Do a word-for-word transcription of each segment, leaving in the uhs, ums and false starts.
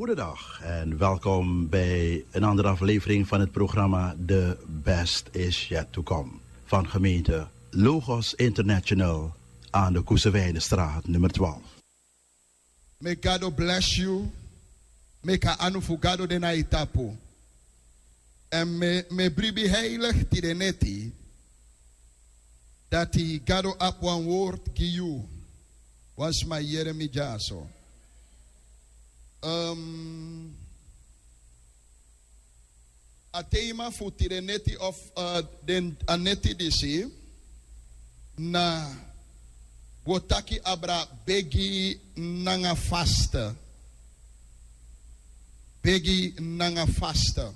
Goedendag en welkom bij een andere aflevering van het programma The Best Is Yet To Come van gemeente Logos International aan de Koesewijnenstraat nummer twaalf. May God bless you. Make a anu fu Gado de na yu tapu. En mi e bribi heilig tide neti dati Gado abi wan word gi yu. Wan sma yere mi dyaso. A tema fu tide neti of den a neti disi na wi o taki abra begi nanga faste. Begi nanga faste.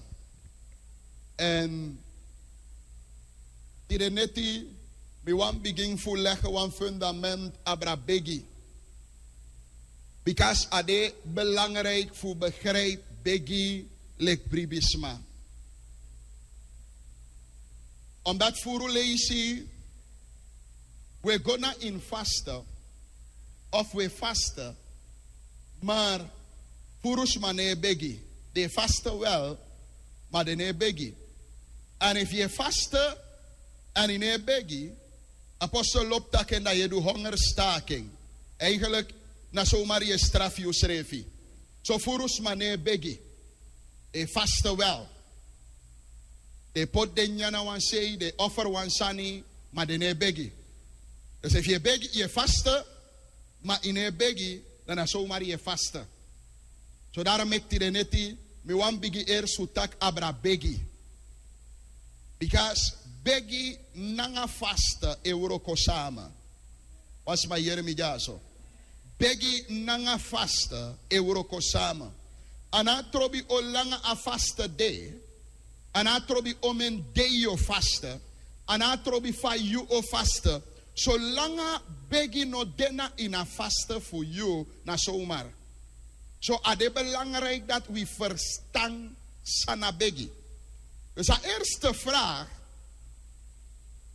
En tide neti mi wani bigin fu lege wan fundament abra begi. Bikasi a de belangriki fu begripi begi leki bribisma. Omdat furu leisi wi e go na ini faste of wi e faste, maar furu sma no e begi. Den e faste wel, maar den no e begi. En efu yu e faste en yu no e begi, apostel lobi taki en dan yu e du hongerstaking. Eigenlijk na somar yu e strafu yusrefi. So furu sma no e begi. Den e faste wel. Den e poti den nyanyan na wan sei, den e offer wan sani, maar den no e begi. Dus efu yu e begi, yu e faste, maar yu no e begi, dan na somar yu e faste. So daarom meki tide neti mi wani bigin eerst fu taki abra begi. Bikasi begi nanga faste e wroko sama. Wan sma yere mi dyaso. Begi nanga faste e wroko sama. A no a trobi o langa a faste de. A no a trobi o men dei yu o faste. A no a trobi fa yu o faste. Solanga begi no de na ini a faste fu yu, na somar. So a de belangriki dati wi ferstan san na begi. Dus a eerste vraag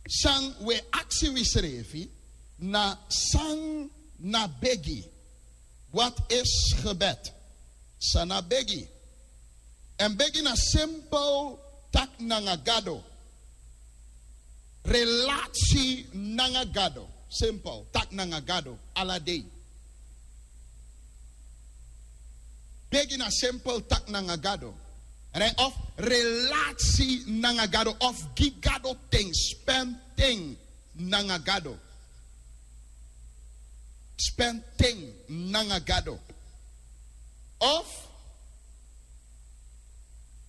san wi e aksi wisrefi na san na begi. Wat is gebed? San na begi? En begi na simpel taki nanga Gado. Relasi nanga Gado. Simpel taki nanga Gado ala dei. Begi na simpel taki nanga Gado. Of relasi nanga Gado of gi Gado ten, spend ten nanga Gado. Spend ten nanga Gado. Of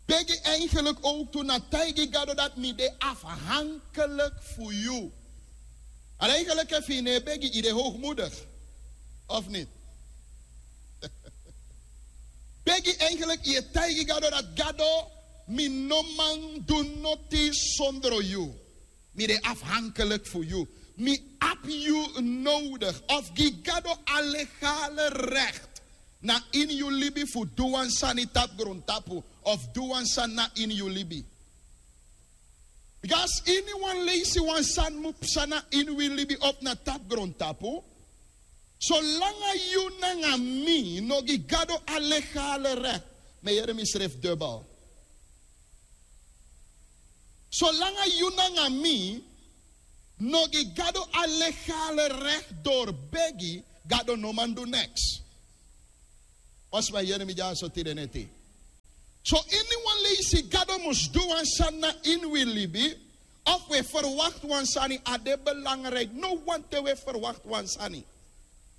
begi eigenlijk ook tu na taigi Gado dati mi de afhankelijk fu yu. Al eigenlijk efu yu no e begi yu de hoogmoedig. Of niet? Begi eigenlijk yu e taigi Gado dati Gado, mi no man du noti sondro yu. Mi de afhankelijk fu yu. Mi abi yu nodig. Of gi Gado a legale recht na ini yu libi fu du wan sani tapu grontapu of du wan sani na ini yu libi. Bikasi ini wan leisi wan sani mu psa na ini wi libi of na tapu grontapu. Solanga yu nanga mi no gi Gado a legale recht, mi e yere misrefi dubbel. Solanga yu nanga mi no gi Gado a legale recht door begi, Gado no man du niks. Wan sma yere mi dyaso tide neti. So ini wan leisi Gado mus du wan sani na ini wi libi, of wi e verwacht wan sani, a de belangrijk. No wan te wi e verwacht wan sani.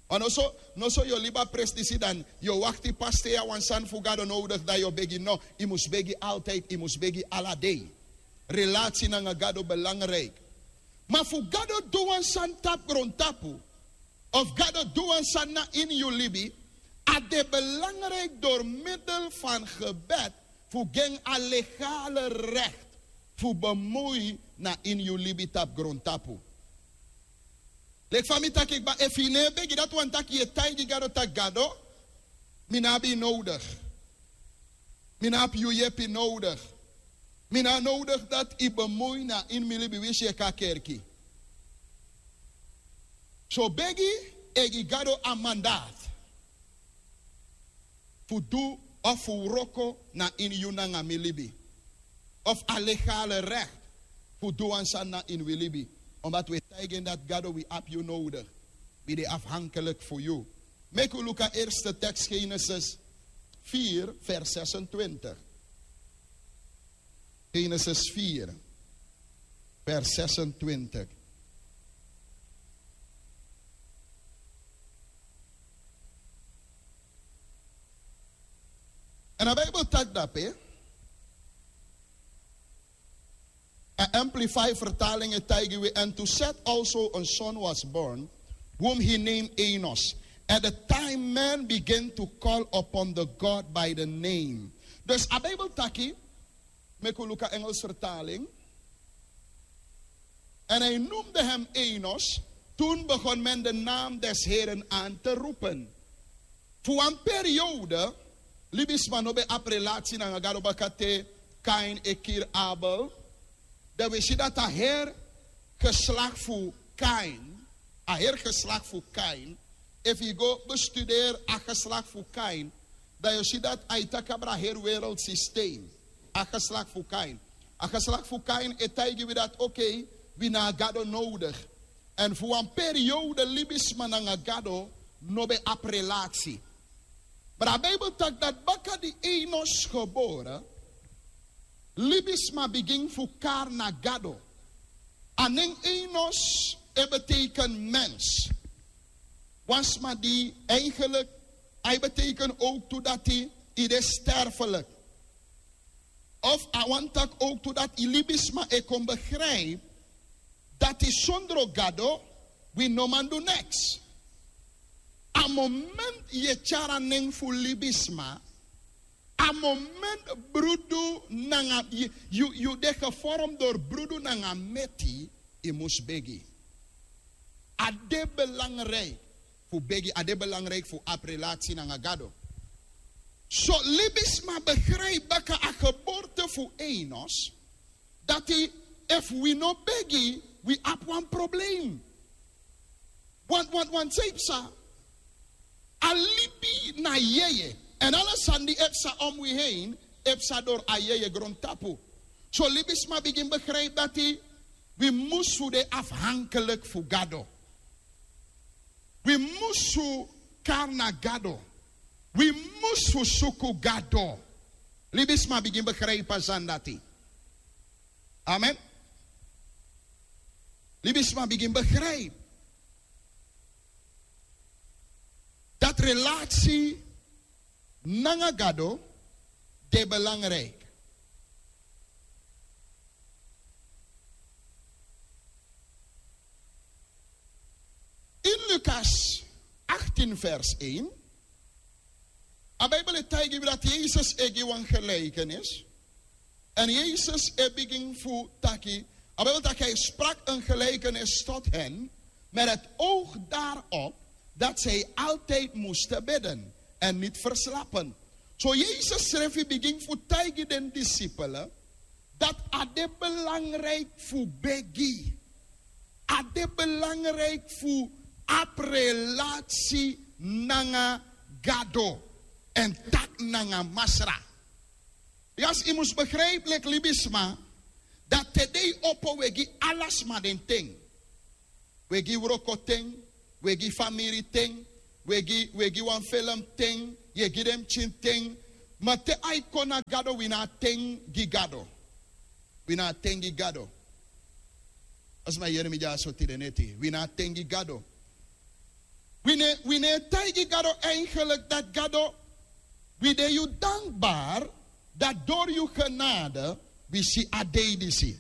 Wan no so, no so yu o libi a presi disi dan yu o wakti pas te yu abi wan sani fu Gado nodig dan yu o begi. No, yu mus begi altijd, yu mus begi ala dei. Relasi nanga Gado belangrijk. Ma fu Gado du wan sani tapu grontapu of Gado du wan sani na ini yu libi, a de belangrijk door middel van gebed fu gi en a legale recht fu bemoei na ini yu libi tapu grontapu. Leki fa mi taki kba, efu yu no e begi dati wani taki yu e taigi Gado taki Gado, mi no abi yu nodig. Mi no abi yu yepi nodig. Mi no abi nodig dati yu bemoei na ini mi libi winsi yu e kon na kerki. So begi e gi Gado a mandaat fu du Of fu wroko na ini yu nanga mi libi. Of a legale recht fu du wan sani na ini wi libi. Omdat wi e taigi en dati Gado, wi abi yu nodig. Wi de afhankelijk fu yu. Meki wi luku a eerste tekst, Genesis vier vers zesentwintig. Genesis vier vers zesentwintig. En a Bijbel taki dape, a Amplify vertaling e taigi wi: "And to Seth also a son was born, whom he named Enos. At the time man began to call upon the God by the name." Dus a Bijbel taki, meki wi luku a Engels vertaling. En hij noemde hem Enos. Toen begon men de naam des Heren aan te roepen. Fu wan periode, libisma no ben abi relatie nanga Gado, baka te Kain e kiri Abel. Dan wi si dati a heri geslacht fu Kain, a heri geslacht fu Kain. Efu yu go bestuderi a geslacht fu Kain, dan yu si dati a e taki abra heri wereldsysteem. A geslacht fu Kain, a geslacht fu Kain e taigi wi dati, oké, wi na Gado nodig. En fu wan periode libisma nanga Gado no ben abi relatie. Maar a Bijbel taki dati baka di Enos gebore, libisma bigin fu kari na Gado. A nen Enos e beteken mens. Wan sma di eigenlijk, a e beteken ook tu dati yu de sterfelijk. Of a wani taki ook tu dati yu libisma e kon begrijp dati sondro Gado wi no man du niks. A moment yu e tyari a nen fu libisma, a moment brudu nanga yu, yu, yu de gevormd door brudu nanga meti, yu mus begi. A de belangrijk fu begi, a de belangrijk fu abi relatie nanga Gado. So libisma begrijp baka a geboorte fu Enos, dati efu wi no begi, wi abi wan probleem. Want, want, want san yu psa, a libi na yeye. En ala sani di e psa om wi heen, e psa door a yeye grontapu. So libisma bigin begrijp dati wi mus fu de afhankelijk fu Gado. Wi mus fu kari na Gado. Wi mus fu suku Gado. Libisma bigin begrijp a sani dati. Amen. Libisma bigin begrijp dati relatie nanga Gado de belangrijk. In Lukas achttien vers één, a Bijbel e taigi wi dati Yesus e gi wan gelijkenis. En Yesus e bigin fu taki, a Bijbel taki: "Hij sprak een gelijkenis tot hen met het oog daarop dat zij altijd moesten bidden en niet verslappen." So Yesus srefi bigin fu taigi den disipelen dati a de belangrijk fu begi. A de belangrijk fu abi relatie nanga Gado en taki nanga Masra. Yes, yu mus begrijp, leki libisma, dati te den e opo, wi e gi ala sma den ten. Wi e gi wroko ten, wi e gi famiri ten, wi e gi, wi e gi wan felem ten, yu e gi den pikin ten. Ma te a e kon na Gado, wi no abi ten gi Gado. Wi no abi ten gi Gado. A sma yere mi dyaso tide neti, wi no abi ten gi Gado. Wi no e, wi no e taigi Gado eigenlijk dati Gado, wi de yu dankbaar dati door yu genade wi si a dei disi.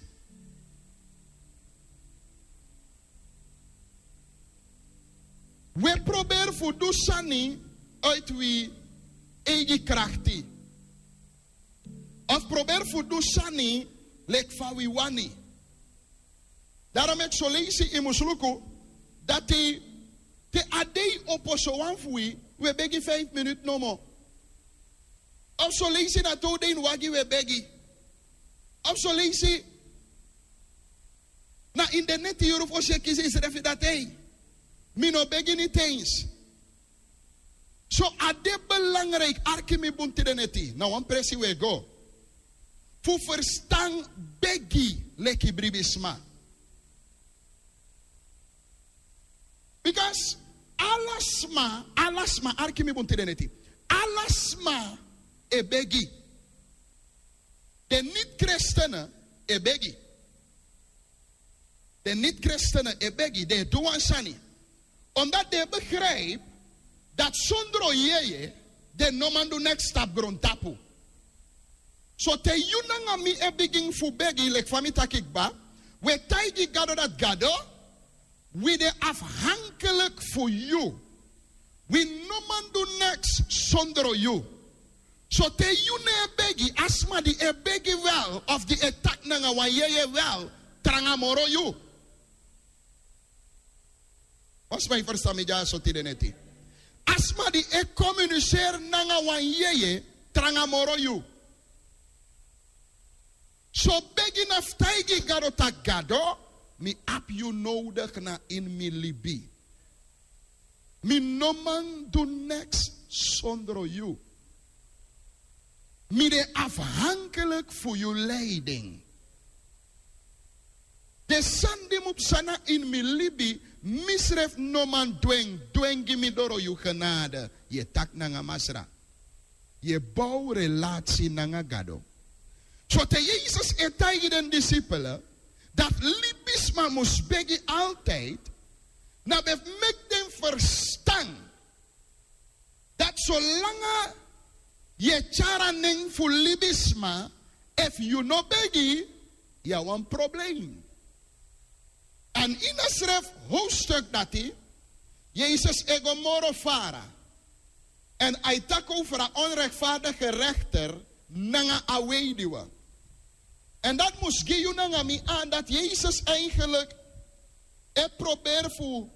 Wi e proberi fu du sani uit wi eigi krakti. Of proberi fu du sani leki fa wi wani. Daarom meki son leisi yu mus luku dati te a dei opo, sowan fu wi, wi e begi vijf minuten nomo. Of son leisi na te un de ini wagi wi e begi. Of son leisi na ini den neti yuru fosi yu e kisi yusrefi dati: "Ei, mi no begi niti eens." So a de belangrijk, arki mi bun tide neti, na wan presi we go fu ferstan begi leki bribisma. Bikasi ala sma, ala sma, arki mi bun tide neti, ala sma e begi. Den niti kristene e begi. Den niti kristene e begi, den e du wan sani. Omdat den e begrijp dati sondro yeye den no man du neks tapu grontapu. So te yu nanga mi e bigin fu begi leki fa mi taki kba, wi e taigi Gado dati Gado, wi de afhankelijk fu yu. Wi no man du neks sondro yu. So te yu no e begi, a sma di e begi wel of di e taki nanga wan yeye wel tranga moro yu. Wan sma e ferstan mi dyaso tide neti. A sma di e komuniseri nanga wan yeye tranga moro yu. So begi na fu taigi Gado taki Gado, mi abi yu nodigi na ini mi libi. Mi no man du neks sondro yu. Mi de afhankelijk fu yu leiding. Den sani di mu psa na ini mi libi, misrefi no man du en, du en gi mi doro yu genade. Yu e taki nanga Masra. Yu e bow relasi nanga Gado. So te Yesus e taigi den disipel dati libisma mus begi altijd, na ben fu meki den ferstan dati solanga yu e tyari a nen fu libisma, efu yu no begi, yu abi wan probleem. Èn ini a srefi hoofdstuk dati, Yesus e go moro fara. Èn a e taki over a onrechtvaardige rechter nanga a weduwe. Èn dati mus gi yu nanga mi aan dati Yesus eigenlijk e proberi fu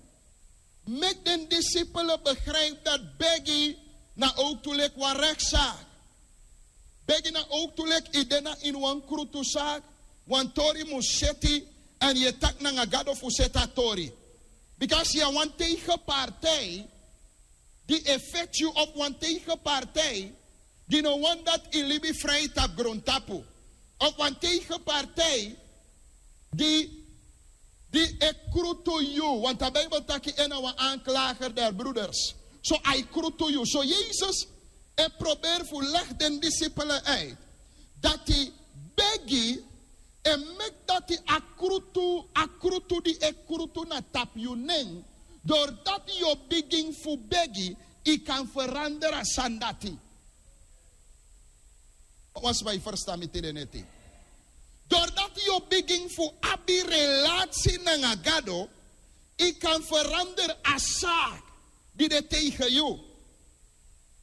meki den disipel begrijp dati begi na ook tu leki wan rechtszaak. Begi na ook tu leki yu de na ini wan krutuzaak, wan tori mus seti, èn yu e taki nanga Gado fu seti a tori. Bikasi yu na wan tegenpartij di e feti yu, of wan tegenpartij di no wani dati yu libi frij tapu grontapu, of wan tegenpartij di, di e krutu yu, want a Bijbel taki en na wan aanklager der broeders. So a e krutu yu. So Yesus e proberi fu legi den disipel uit dati begi e meki dati a krutu, a krutu di e krutu na tapu yu nen, doordat yu o bigin fu begi, yu kan verander a sani dati. Wan sma e ferstan mi tide neti. Doordat yu o bigin fu abi relasi nanga Gado, yu kan verander a zaak di de tegen yu.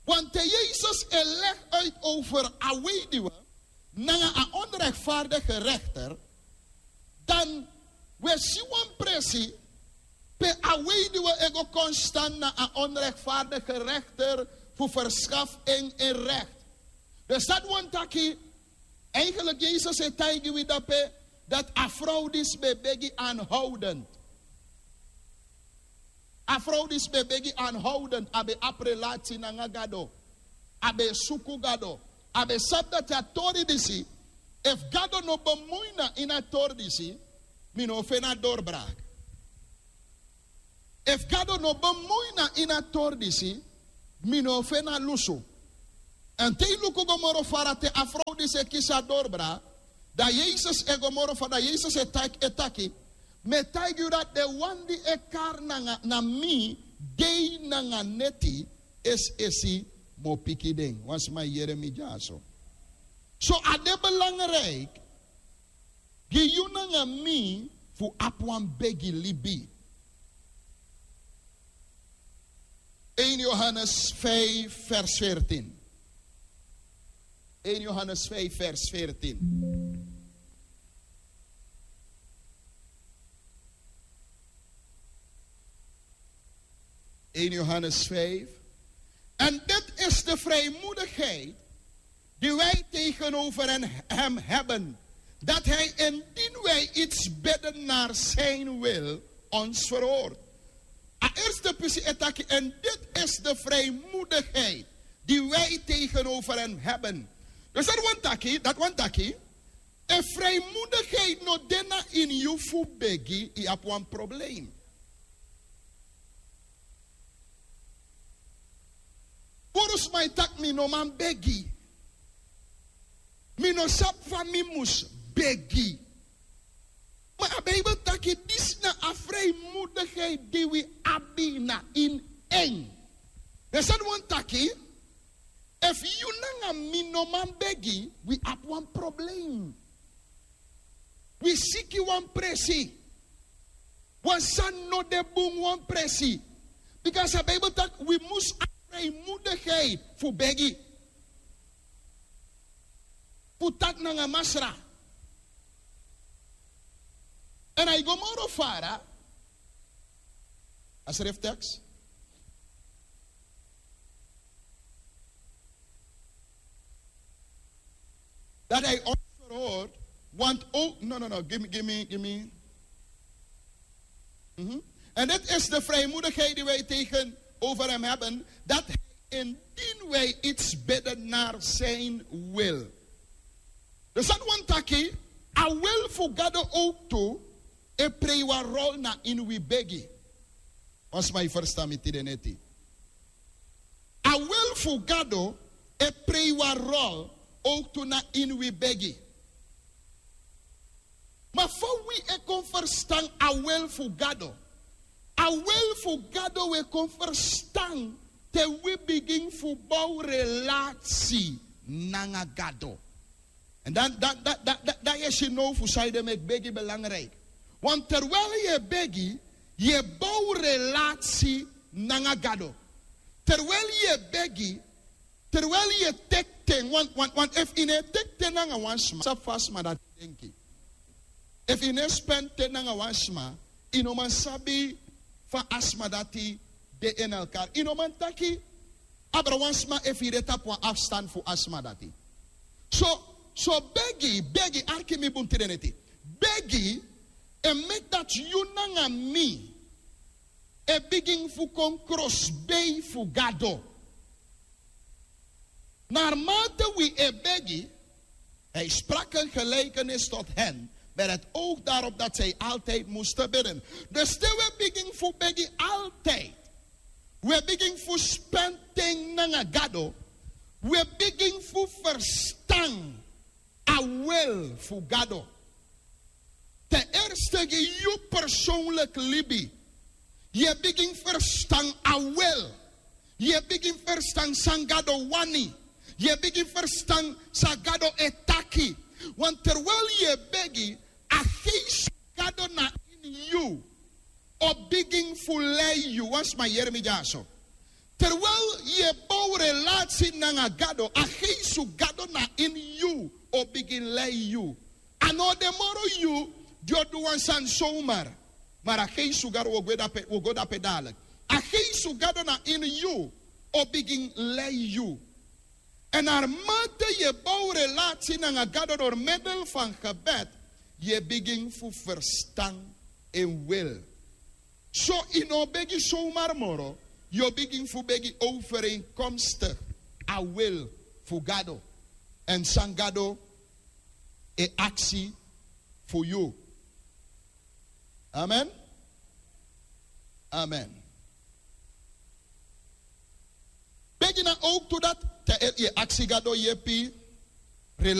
Want te Yesus e legi uit over a weduwe nanga a onrechtvaardige rechter, dan wi e si wan presi pe a weduwe e go kon stan na a onrechtvaardige rechter fu verschafu en en recht. Dus dati wani taki, eigenlijk Yesus e taigi wi dape dati a vrouw disi ben e begi aanhoudend. A vrouw disi ben e begi aanhoudend, a ben abi relasi nanga Gado, a ben e suku Gado, a ben sabi dati a tori disi, efu Gado no bemui na ini a tori disi, mi no o feni a doorbraak. Efu Gado no bemui na ini a tori disi, mi no o feni a lusu. Èn te yu luku go moro fara, te a vrouw disi e kisi a doorbraak, dan Yesus e go moro fara, dan Yesus e taki, e taki, mi e taigi yu dati den wan di e kari nanga, na mi, dei nanga neti, es'esi mi o piki den. Wan sma e yere mi dyaso. So a de belangrijk gi yu nanga mi fu abi wan begi libi. Een Johannes vijf, vers veertien. Een Johannes vijf, vers veertien. Een Johannes vijf. En dit is de vrijmoedigheid die wij tegenover hen, hem hebben, dat hij, indien wij iets bidden naar zijn wil, ons verhoort. A eerste Te pisi e taki, en dit is de vrijmoedigheid die wij tegenover hem hebben. Dus dat wantaki, dat wantaki, e vrijmoedigheid no de na ini yu fu begi, yu abi wan probleem. Puru sma e taki mi no man begi. Mi no sabi fa mi mus begi. Ma a Bijbel taki disi na a vrijmoedigheid di wi abi na ini en. Den sani wani taki, efu yu nanga mi no man begi, wi abi wan probleem. Wi siki wan presi. Wan sani no de bun wan presi. Bika a Bijbel taki wi mus abi vrijmoedigheid fu begi. Fu taki nanga Masra. En a e go moro fara. A schrifttekst. Dat hij ons verhoort, want ook, no, no, no, give me, give me, give me. Mhm. En dit is de vrijmoedigheid die wij tegenover hem hebben, dat hij, indien wij iets bidden naar zijn wil. Dus dat wani taki, a wil fu Gado ook tu, e play wan rol na ini wi begi. Wan sma e ferstan mi tide neti. A wil fu Gado e play wan rol ook tu na ini wi begi. Ma fa wi e kon ferstan a wil fu Gado? A wil fu Gado wi e kon ferstan te wi bigin fu bow relasi nanga Gado. En dan, dan, dan, dan, dan, dan yu e si now fu san ede meki begi belangrijk. Want terwijl yu e begi, yu e bow relasi nanga Gado. Terwijl yu e begi, terwijl yu e teki ten, want, want, want efu yu no e teki ten nanga wan sma, sabi fa a sma dati e denki. Efu yu no e spend ten nanga wan sma, yu no man sabi fa a sma dati de in elkaar. Yu no man taki abra wan sma efu yu de tapu wan afstand fu a sma dati. So, so begi, begi, arki mi bun tide neti. Begi e meki dati yu nanga mi e bigin fu kon krosbei fu Gado. Naarmate wi e begi, hij sprak een gelijkenis tot hen met het oog daarop dat zij altijd moesten bidden. Dus te wi e bigin fu begi altijd, wi e bigin fu spend ten nanga Gado, wi e bigin fu ferstan a wil fu Gado. Ten eerste gi yu persoonlijk libi. Yu e bigin ferstan a wil. Yu e bigin ferstan san Gado wani. Yu e bigin ferstan san Gado e taki. Want terwijl yu e begi, a geest fu Gado na ini yu o bigin fu lei yu. Wan sma yere mi dyaso. Terwijl yu e bow relasi nanga Gado, a geest fu Gado na ini yu o bigin lei yu. A no de moro yu di o du wan sani zomaar. Maar a geest fu Gado, wi o go dape, wi o go dape dadelijk. A geest fu Gado na ini yu o bigin lei yu. En naarmate yu e bow relasi nanga Gado door middel van gebed, yu e bigin fu ferstan en wil. So yu no o begi zomaar moro, yu o bigin fu begi overeenkomstig a wil fu Gado. En san Gado e aksi fu yu. Amen. Amen. Begi na ook tu dati te yu e aksi Gado yepi.